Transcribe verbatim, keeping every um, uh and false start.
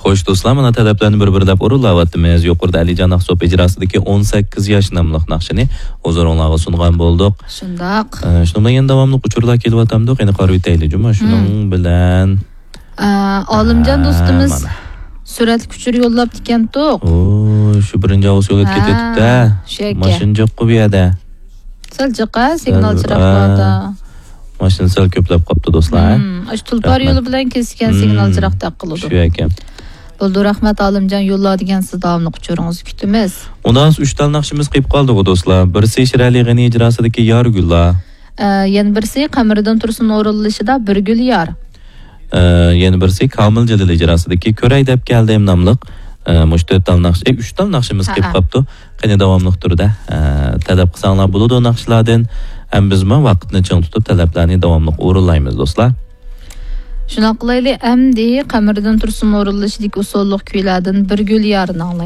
خوش دوستلار، مانا تەلەپلەرنى بىر-بىرلەپ ئورۇنلاۋاتىمىز. يۇقىرىدا ئەلىجان ئاقسوپ ئىجراسىدىكى ئون سەككىز ياش ناملىق ناخشىنى ھۇزۇرۇڭلارغا سۇنغان بولدۇق. شۇنداق. ئە، شۇنىڭ بىلەن يەنە داۋاملىق ئۇچۇرلار كېلىۋاتامدۇ؟ قېنى قارىۋېتەيلى، جۇمۇ. شۇنىڭ بىلەن. ئە، ئالىمجان ھە، دوستىمىز مانا. سۈرەتلىك ئۇچۇر يوللاپتىكەنتۇق. ئو، شۇ بىرىنچى ئاۋغۇست يوللاپ ھە، كېتىۋېتىپتۇ. شۇ ئەكە. ماشىنا جىققۇ بۇ يەردە. سەل جىق، ھە، سىگنال سەل، چىراغ ئە، باردا. ماشىنا سەل كۆپلەپ قاپتۇ، دوستلار، ھە؟ مم، ئاشۇ تۇلپار رەھمەت. يولى بىلەن كېسىككەن مم. سىگنال چىراغ تەق قىلىدۇ. شۇ ئەكەن. بولدى، رەھمەت، ئالىمجان يوللا دېگەن سىز داۋاملىق ئۇچۇرىڭىزنى كۈتىمىز. ئۇنداق ئۈچ دانە ناخشىمىز قېلىپ قالدىغۇ، دوستلار. بىرسى شىرئەلى غېنى ئىجراسىدىكى يارگۈللار. ئە، يەنە بىرسى قەمەردىن تۇرسۇن ئورۇنلىشىدا بىر گۈل يار. ئە، يەنە بىرسى كامىل جېلىل ئىجراسىدىكى كۆرەي دەپ كەلدىم ناملىق. ئە، مۇشۇ تۆت دانە ناخشا، ئە، ئۈچ دانە ناخشىمىز ھە، قېلىپ ھە. قاپتۇ. قېنى داۋاملىق تۈردە، ئە، تەلەپ قىلساڭلار بولىدۇ ناخشىلاردىن. ھەم بىزمۇ ۋاقىتنى چىڭ تۇتۇپ تەلەپلەرنى داۋاملىق ئورۇنلايمىز، دوستلار. شۇنداق قىلايلى، ئەمدى قەمەردىن تۇرسۇن ئورۇنلىشىدىكى ئۇسسۇللۇق كۈيلەردىن بىر گۈل يارنى ئاڭلايلى.